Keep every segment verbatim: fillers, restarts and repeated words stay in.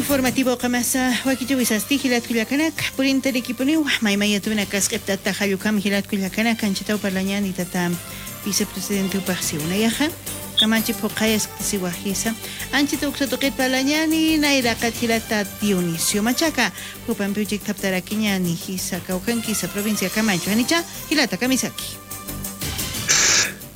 Informativo qamasa wakichäwisasti jilat kullakanaka, purintarakipuniw maymayatunak kask'ipt'ata jall ukham jilat kullakanaka, anchhitaw parlañäni tata vicepresidente jupaxsi unayaxa, kamachi phuqhayasktasiwajisa, anchhita uksa tuqit parlañäni nayraqat jilata Dionisio Machaca, jupampiw chikt'aptarakiñäni jisa kawkhankisa provincia Camacho, janicha jilata kamisaki.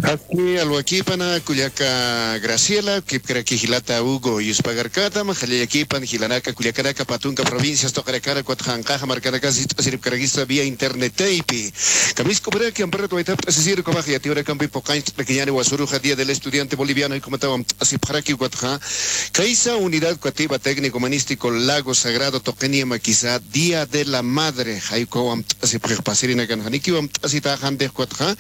Aski alwakipana kullaka Graciela, kipkaraki jilata Hugo, yuspagarkatam, jallallakipan jilanaka kullakanaka pä tunka provincias tuqinakana, ukatxa anqaxa markanakas jiskt'asiripkarakisa vía internet taypi. Kamisk'uparaki amparat waytapt'asisir ukhamax yatiyunakampi phuqañcht'arakiñäni wasuruxa Día del Estudiante Boliviano, jay ukhamataw amt'asipxaraki ukatxa kaysa Unidad Educativa Técnico Humanístico Lago Sagrado tuqiniw makisa Día de la Madre, jay ukhaw amt'asipxix pasirinakan, janikiw amt'asitaxantix ukatxa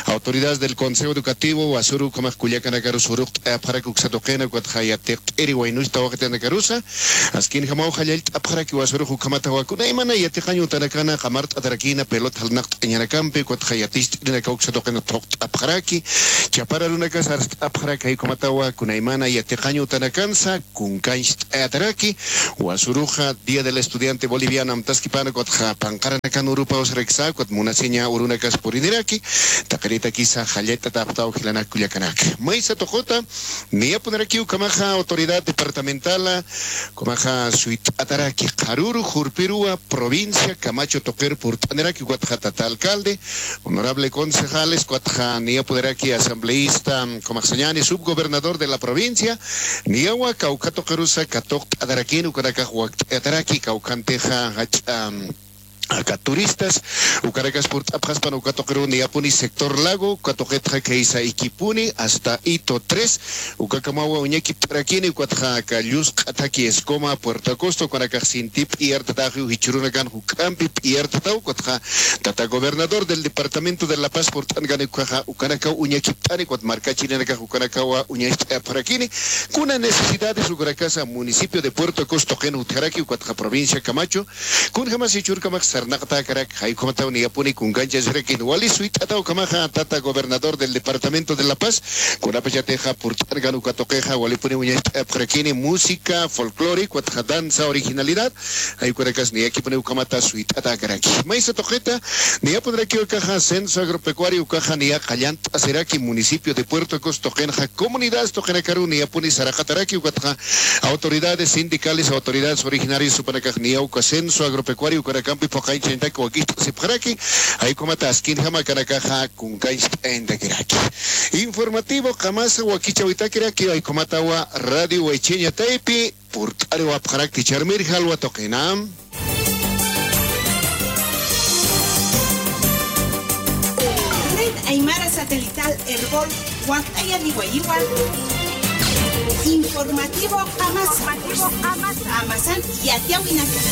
autoridades del Consejo Educativo wasuru ukhamax kullakanakarus uruqt'ayapxaraki uksa tuqina ukatxa yatiqt'iri waynus tawaqitanakarus, askinjamaw jallallt'apxaraki wasurux ukhamatawa kunaymana yatiqañ utanakana qamart'atarakïna pelota jalnaqt'añanakampi ukatxa yaticht'irinakaw uksa tuqina thuqt'apxaraki, chapar arunakas arst'apxaraki, jay ukhamatawa kunaymana yatiqañ utanakansa kunkancht'ayataraki, wasuruxa Día del Estudiante Boliviano amtaskipana ukatxa panqaranakan urupaw saraksa, ukat munasiña urunakas puriniraki, taqiritakisa jallallt'atäpxtaw jilanak kullakanaka. Maysa tuqita, niyapunirakiw ukhamaxa autoridad departamental, ukhamaxa suyt'ataraki qharüru jurpiruwa provincia Camacho tuqir purt'aniraki, ukatxa tata alcalde, honorable concejales, ukatxa niyapuniraki asambleísta, ukhamax sañäni subgobernador de la provincia, niyawa kawkha tuqirusa katuqt'atarakïn, ukanakax wakt'ayataraki, kawkhantixa jach'a aka turistas, ukanakas purt'apxaspan uka tuqiruw niyapuni sector Lago, uka tuqitxa khaysa Iquipuni hasta Hito tres, ukakamawa uñakipt'arakini, ukatxa aka llusq'a thakhi Escoma, Puerto Acosta, ukanakax sinti p'iyartatäxiw, jichhürunakan juk'ampi p'iyartataw, ukatxa tata gobernador del departamento de La Paz purt'ankani ukaxa ukanakaw uñakipt'ani, ukat markachirinakax ukanakawa uñacht'ayapxarakini, kuna necesidades ukanakasa municipio de Puerto Acosta tuqin utjaraki, ukatxa provincia Camacho, kunjamas jichhürkamax sarnaqatäkarak, jay ukhamataw niyapuni kunkanchasirakin, wali suyt'ataw ukhamaxa tata gobernador del departamento de La Paz, kunapachatixa purt'ankan uka tuqixa walipuni uñacht'ayapxarakini música, folclore, ukatxa danza, originalidad, jay ukanakas niyakipuni ukhamata suyt'atäkaraki. Maysa tuqita, niyapunirakiw akaxa censo agropecuario ukaxa niya qallant'asiraki municipio de Puerto Acosta tuqinxa comunidades tuqinakaruw niyapuni saraqataraki, ukatxa autoridades sindicales, autoridades originarias jupanakax niya uka censo agropecuario ukanakampi phuqañchañatak wakicht'asipxaraki, jay ukhamata askinjama akanakaxa kunkancht'ayantakiraki. Informativo qamasa wakichäwitakiraki, jay ukhamatawa Radio Waychiña taypi purt'ariwapxarakti, ch'armir jalwa tuqina. Red Aymara Satelital Erbol wakt'ayaniwayiwa. Informativo qamasa. Qamasan yatiyäwinaka.